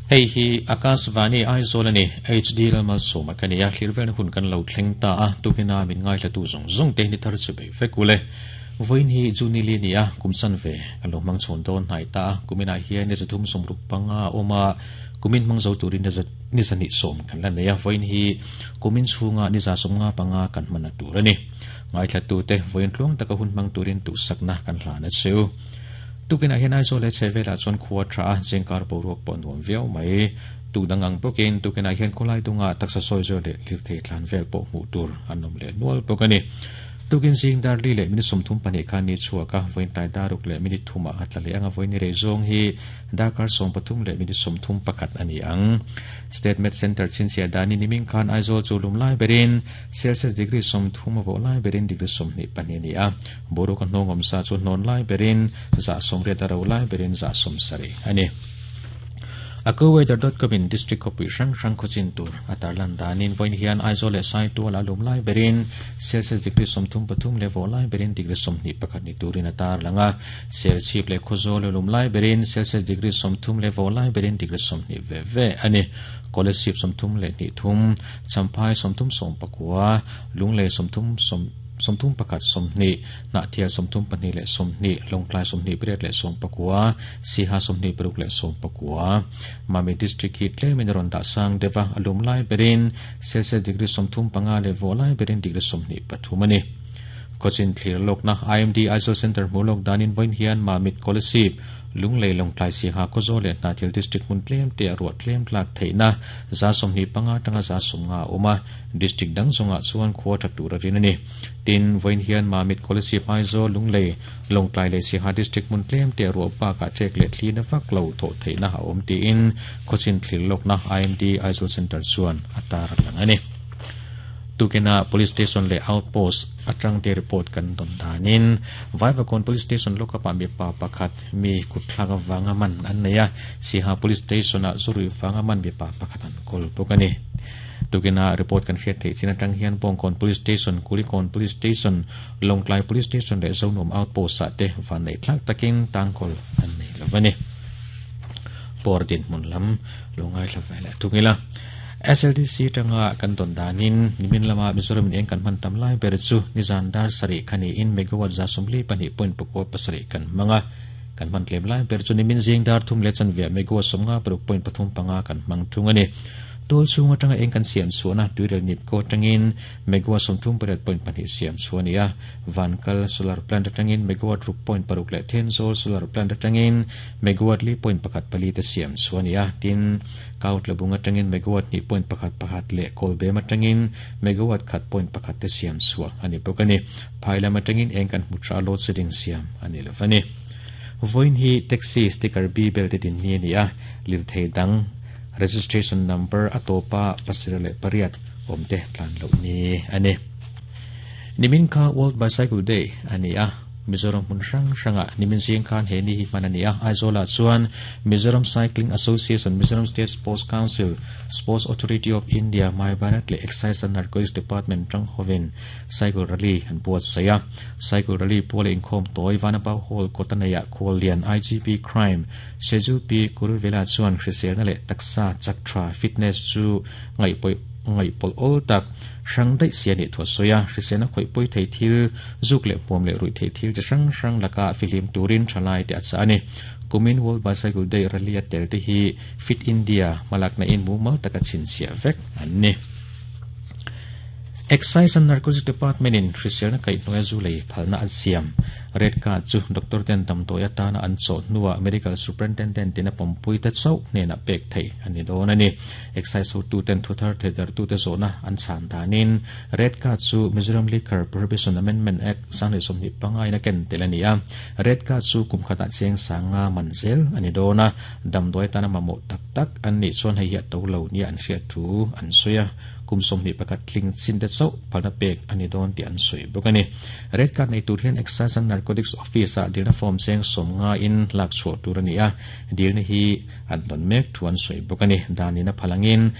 Hei hi Akashvani Aizawl a ni. HD Lalmalsawma ka ni a, thlir velna hun kan lo thleng ta a, tukina min ngaihla-tu zawng zawng te ni thar chu bei vek ule. Vawiin hi June li a ni a, kum chanve kan lo hmang chhawn dawn hnai ta a, kuminah hian ni zathum sawmruk panga a awm a, kumin hmang zo turin ni zahnih sawm kan la nei a, vawiin hi kumin chhunga ni za sawmnga panga kan hmanna tur a ni. Ngaithlatute vawiin tluang taka hun hmang turin duhsakna kan hlan a che u. Tukinah hian Aizawl leh chhehvelah chuan khua tha a, zingkar boruak pawh nuam viau mai. Tuk dang ang bawkin tukinah hian khawlai dungah taksa sawi zawr leh lirthei tlan vel pawh hmuh tur an awm leh nual bawk a ni. Tukin zing dar li leh minute 32 khan ni chhuak a, vawiin tlai dar ruk leh minute thumah a tla leh ang a, vawiin ni rei zawng hi darkar 13 leh minute 31 a ni ang. State Med Centre chhinchhiah danin nimin khan Aizawl chu lum lai berin Celsius degree 30 a vawh lai berin degree 22 a ni a. Boruak a hnawng awmsa chu hnawn lai berin 80% a ro lai berin 70% a ni. Accuweather dot com in district khawpui hrang hrang khawchin tur a tarlan danin vawiin hian Aizawl leh Saitual a lum lai berin Celsius degree 33 leh vawh lai berin degree 21 ni turin a tarlang a. Serchhip leh Khawzawl a lum lai berin Celsius degree 30 leh vawh lai berin degree 20 ve ve a ni. Kolasib 33, Champhai 39, Lunglei 30 31 20, Hnahthial 32 leh 20, Lawngtlai 28 leh 19, Siha 26 leh 19. Mami District hi tlemin a rawn dah sang deuh a, a lum lai berin Celsius degree 35 leh vawh lai berin degree 23 a ni. Khawchin thlir lawkna IMD Aizawl Centre hmuh lawk danin vawiin hian Mamit Kolasib, Lunglei Lawngtlai Siha Khawzawl leh Hnahthial District hmun tlem te a ruah tlem tlak theihna 25 atanga 50 a awm a, District dang zawngah chuan khua tha tur a rin a ni. Tin, vawiin hian Mamit, Kolasib, Aizawl, Lunglei, Lawngtlai leh Siaha District hmun tlem te a ruah bakah ṭek leh thli na vak lo thawh theihna a awm tiin khawchin thlir lawkna IMD Aizawl Centre chuan a tar lang a ni. Tukina Police Station leh Outpost atang te report kan dawn danin Vaivakawn Police Station lockup-ah mipa pakhat mi kutthlak avanga man an nei a, Siaha Police Station-ah zuruih vanga man mipa pakhat an kawl bawk a ni. Tukina report kan hriat theih chin atang hian Bawngkawn Police Station, Kulikawn Police Station, Lawngtlai Police Station leh Zonuam Outpost ah te vanneih thlak takin tangkawl an nei lo a ni. Pawr dinhmun lam lo ngaithla ve leh thung ila. SLDC atanga kan dawn danin nimin lama Mizoram in eng kan hman tam lai ber chu nizan dar sarih kha niin megawatt 44.7 kan hmang a. Kan hman tlem lai ber chu nimin zing dar thum leh chanve megawatt 56.35 kan hmang thung a ni. Tual chhung atanga eng kan siam chhuahna tuirel nipko atangin megawatt 38.2 siam chhuah a ni a. Vankal solar plant atangin megawatt 6.6 leh Thenzawl solar plant atangin megawatt 4.14 te siam chhuah a ni a. Tin, Kautlabung atangin megawatt 2.11 leh Kawlbem atangin megawatt 1.1 te siam chhuah a ni bawk a ni. Phai lam atangin eng kan hmu tha load shedding siam a ni lo a ni. Vawiin hi taxi sticker B bel te din ni a ni a, lirthei dang registration number a tawpa 78 awm te tlan loh ni a ni. Nimin kha World Bicycle Day a ni a, Mizoram hmun hrang hrangah nimin zing khan he ni hi hman a ni a. Aizawlah chuan Mizoram Cycling Association, Mizoram State Sports Council, Sports Authority of India, My Bharat leh Excise and Narcotics Department tang hovin Cycle Rally an buatsaih a. Cycle Rally puala inkhawm tawi Vanapau Hall kawta neiah Khuallian IGP Crime Seju Pi Kuruvela chuan hriselna leh taksa chak tha, fitness, chu ngaihpawih ngaihpawlh awl tak hrang daih si a nih thu a sawi a. Hriselna khawih pawi thei thil, zuk leh hmuam leh ruih theih thil chi hrang hrang lakah fihlim turin thalai te a chah a ni. Kumin World Bicycle Day rally a tel te hi Fit India hmalakna in mumal taka chhinchhiah vek an ni. Excise and Narcotics Department in hriselna kaihhnuaia zu lei phalna an siam. Red card chu doctor ten damdawi atana an chawh hnuah Medical Superintendent in a pawmpui te chauh hnenah pek theih a ni dawn a ni. Excise hotu ten thuthar theidartute zawhna an chhan danin Red card chu Mizoram Liquor Prohibition Amendment Act 2025 in a ken tel a ni a. Red card chu kum khatah cheng sanga man zel a ni dawn a, damdawi atana mamawh tak tak an nih chuan hei hi a to lo nia an hriat thu an sawi a. Kum 21 tling chin te chauh phalna pek a ni dawn tih an sawi bawk a ni. Red card nei tur hian Excise and Narcotics Office-ah dilna form cheng 50 in lak chhuah tur a ni a, dilna hi an dawn mek thu an sawi bawk a ni. Danin a phal angin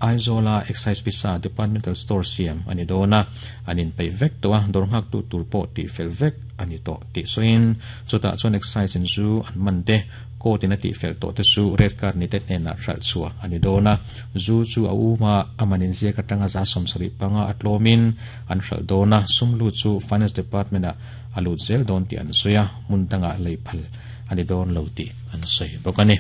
Aizawla Excise Pisa Departmental Store siam a ni dawn a, an inpeih vek tawh a, dawr nghaktu tur pawh tihfel vek a ni tawh tih sawiin chutah chuan Excise in zu an man te. Court in a tihfel tawh te chu red card ni te hnenah hralh chhuah a ni dawn a, zu chu a um a, a man inziak atanga 75% a tlawmin an hralh dawn a, sum lut chu Finance Department ah a lut zel dawn tih an sawi a, hmun dangah lei phal a ni dawn lo tih an sawi bawk a ni.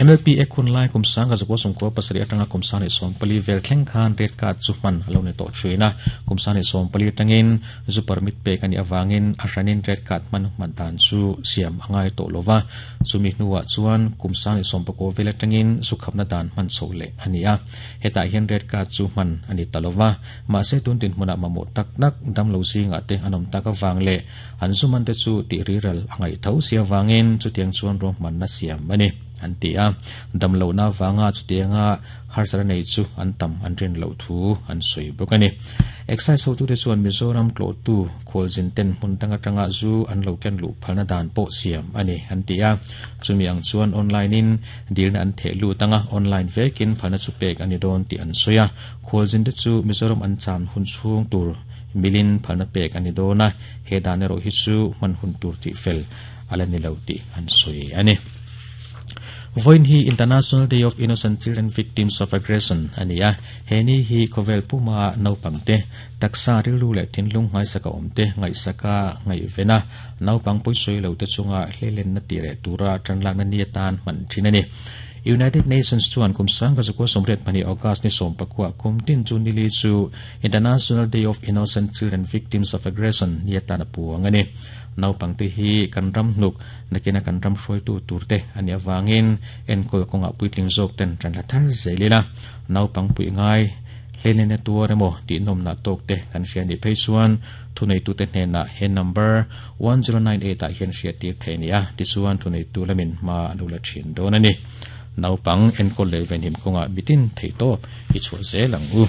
MLP ek hun lai kum sanga zakua sawmkua pasarih atanga kum 1014 vel thleng khan red card chu hman a lo ni tawh thin a, kum 1014 atangin zu permit pek a nih avangin a hranin red card hman hman dan chu siam a ngai tawh lova, chumi hnuah chuan kum 1019 vel atangin zu khapna dan hman chhoh leh a ni a, hetah hian red card chu hman a ni ta lova, mahse tun dinhmunah mamawh tak tak damlo zingah te an awm tak avang leh an zu man te chu tih riral a ngaih tho si avangin chutiang chuan ruahmanna siam a ni, an ti a. Damlohna avanga chutianga harsatna nei chu an tam an rin loh thu an sawi bawk a ni. Excise hotute chuan Mizoram tlawhtu khualzin ten hmun dang atanga zu an lo ken luh phalna dan pawh siam a ni, an ti a. Chumi ang chuan online in dilna an theh lut anga online vekin phalna chu pek a ni dawn tih an sawi a. Khualzin te chu Mizoram an chan hun chhung tur milin phalna pek a ni dawn a, he dan erawh hi chu hman hun tur tih fel a la ni lo tih an sawi a ni. Vawiin hi International Day of Innocent Children Victims of Aggression a ni a, he ni hi khawvel puma naupangte, taksa rilru leh thinlung nghaisaka awmte ngaihsaka ngaihven a, naupang pawisawi lote chunga hleilenna tih reh tura tanlakna ni atan hman thin a ni. United Nations chuan kum 1982 August ni 19 kum tin chu nili chu International Day of Innocent Children Victims of Aggression ni atan a puang a ni. Naupangte hi kan ram hnuk nakina kan ram hruaitu turte a nih avangin enkawl kawngah puitling zawk ten tan la thar zel ila. Naupang puih ngai hleilena tuar emaw tih nawmna tawkte kan hria nih phei chuan thuneitute hnenah he number 1098 ah hian hriattir theih a ni a, tichuan thuneitu lamin hma an lo la thin dawn a ni. Naupang enkawl leh venhim kawngah mitin theihtawp i chhuah zel ang u.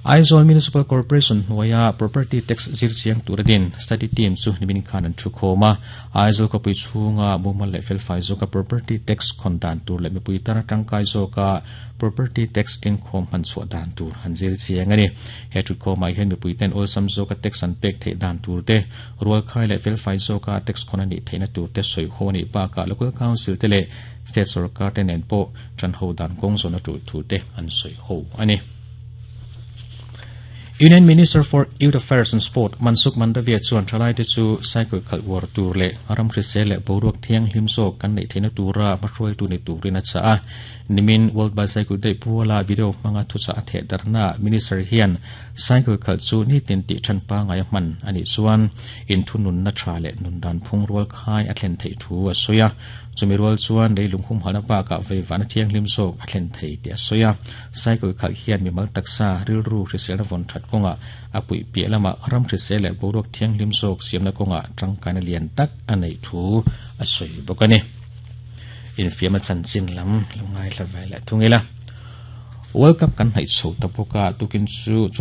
Aizawl Municipal Corporation hnuaia Property Tax zir chiang tura din Study Team chu nimin khan an thu khawm a. Aizawl khawpui chhunga mumal leh felfai zawka Property Tax khawn dan tur leh mipui tana tangkai zawka Property Tax tlingkhawm hman chhuah dan tur an zir chiang a ni. He thutkhawmah hian mipui ten awlsam zawka tax an pek theih dan tur te, rualkhai leh felfai zawka tax khawn a nih theihna tur te sawi ho a nih bakah Local Council te leh State sorkar te nen pawh tan ho dan kawng zawn a tul thu te an sawi ho a ni. Union Minister for Youth Affairs and Sport Mansukh Mandaviya chuan thalaite chu cycle khalh uar tur leh ram hrisel leh boruak thianghlim zawk kan neih theihna tura hmahruaitu ni turin a chah a. Nimin World Bicycle Day puala video hmanga thuchah a theh darhnaah Minister hian cycle khalh chu nitin tih than pangai a hman a nih chuan inthununna tha leh nundan phung rual khai a thlen theih thu a sawi a. Chumi rual chuan leilung humhalhna bakah veivahna thianghlim zawk a thlen thei tih a sawi a. Cycle khalh hian mimal taksa rilru hriselna vawn that kawngah a puih piah lamah ram hrisel leh boruak thianghlim zawk siamna kawngah tangkaina lian tak a neih thu a sawi bawk a ni. Infiamna chanchin lam lo ngaithla ve leh thung ila. World Cup kan hnaih chho ta bawk a, tukin chu.